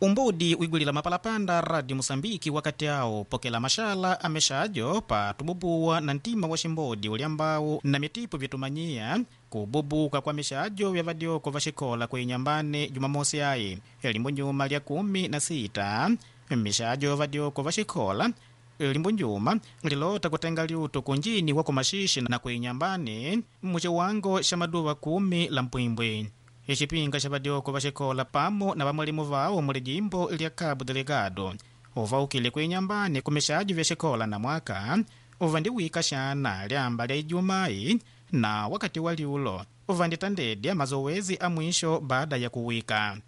Umbudi wigwilila mapalapanda Radio Musambiki wakati awo pokela mashala amexajo pa tububuwa na ntima wa ximbodi uliambawu na mitipu vitumanyiya kububuka kwa mixajo vya vadyoko va xikola kuinyambane Jumamosi ayi limbo nyuma lya 16 mixajo vadyoko va xikola limbo njuma lilota kutenga liuto kunjini wa kumaxixi na kuinyambane muciwango xa maduva 10 la mpwimbwi. Ixipinga xa vadyoko va xikola pamo na vamwalimu vawo muli jimbo lya Cabo Delgado uvaukile kuinyambane kumixajo vya xikola na mwaka uvandiwika xana lyamba lya Ijumai na wakati wa liulo uvanditandedya mazowezi a mwisho baada ya kuwika.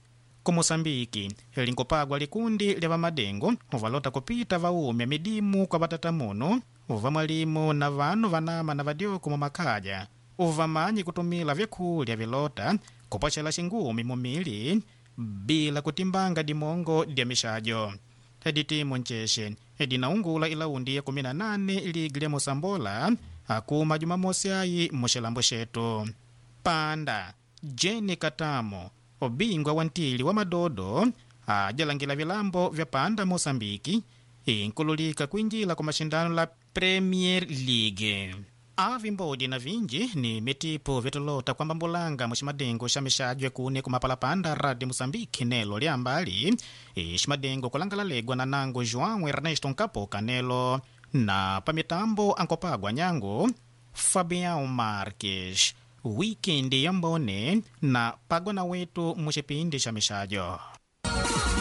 Ku Moçambike linkupagwa likundi lya vamadengo uvalota kupita vaumya midimu kwa vatatamuno uva mwalimu na vanu vanama na vadyoko mumakaya uvamanyi kutumila vyakulya vilota kupwacela xingumi mumili bila kutimbanga dimongo dya mixajo. Editimu ncexe edinaungula ilaundi ya 18 ligi lya Mosambola akuma Jumamosi ayi muxilambo xetu. Panda Jeni Katamo obingwa wa ntili wa madodo ajalangila vilambo vya Panda Moçambike inkululika kuinjila kwa mashindano la Premier League. Avimbodi na vinji ni mitipo vitolota kwamba mbulanga muximadengo xa mixajo kune kumapalapanda Radio Moçambique nelo lyambali iximadengo kulangala legwa na nango João Ernesto Nkapoka nelo na pamitambo ankopagwa nyango Fabião Marques. Wikendi yambone na pagwa na wetu muxipindi xa mixajo.